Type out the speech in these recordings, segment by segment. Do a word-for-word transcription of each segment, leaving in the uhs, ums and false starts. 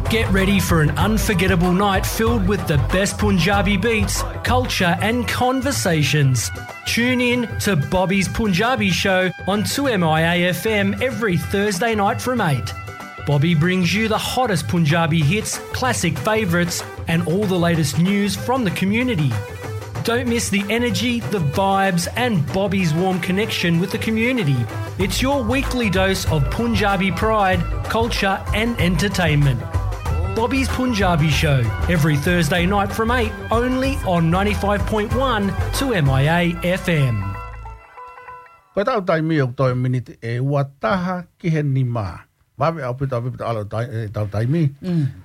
Get ready for an unforgettable night filled with the best Punjabi beats, culture, and conversations. Tune in to Bobby's Punjabi Show on two M I A F M every Thursday night from eight. Bobby brings you the hottest Punjabi hits, classic favourites, and all the latest news from the community. Don't miss the energy, the vibes, and Bobby's warm connection with the community. It's your weekly dose of Punjabi pride, culture, and entertainment. Bobby's Punjabi Show, every Thursday night from eight, only on ninety-five point one two M I A F M. Ko e tau taimi ʻoku toe miniti ʻe ua taha ki he nima. Vave ʻaupito, ʻaupito ʻalu tai-, e tau taimi.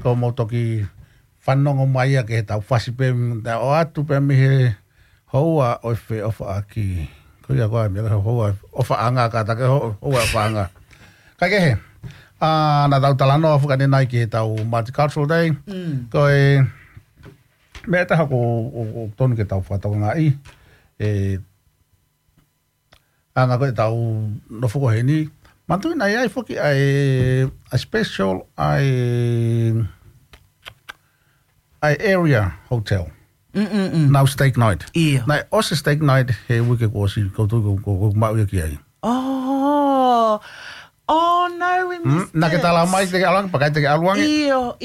Ko mou toki fanongo mai ia ki he tau fasi pē, ʻo atu pē mei he houa ʻo e feʻofaʻaki. Ko ia ko e meʻa houa ʻofaʻanga ka ta ke ho-, houa ʻofaʻanga. Kaikehe, ʻa, naʻa tau talanoa fakane nai ki he tau Multicultural Day. Ko e meʻa ʻe taha ʻoku, ʻoku, ʻoku tonu ke tau fakatokangaʻi. E, ʻa, ngā ko e tau nofo ko heni. Manatuʻi naʻe ʻi ai foki ʻa e, ʻa e special, ʻa e, ʻa e area hotel. Nau steak night. ʻIo. Naʻe ʻosi steak night he uike kuo ʻosi, ko tu ko, ko, ko maʻu ia ki ai. Oh. Oh, no, we missed it. Naʻa ke tala mai te ke ʻalu ange, pakai te ke ʻalu ange. ʻIo,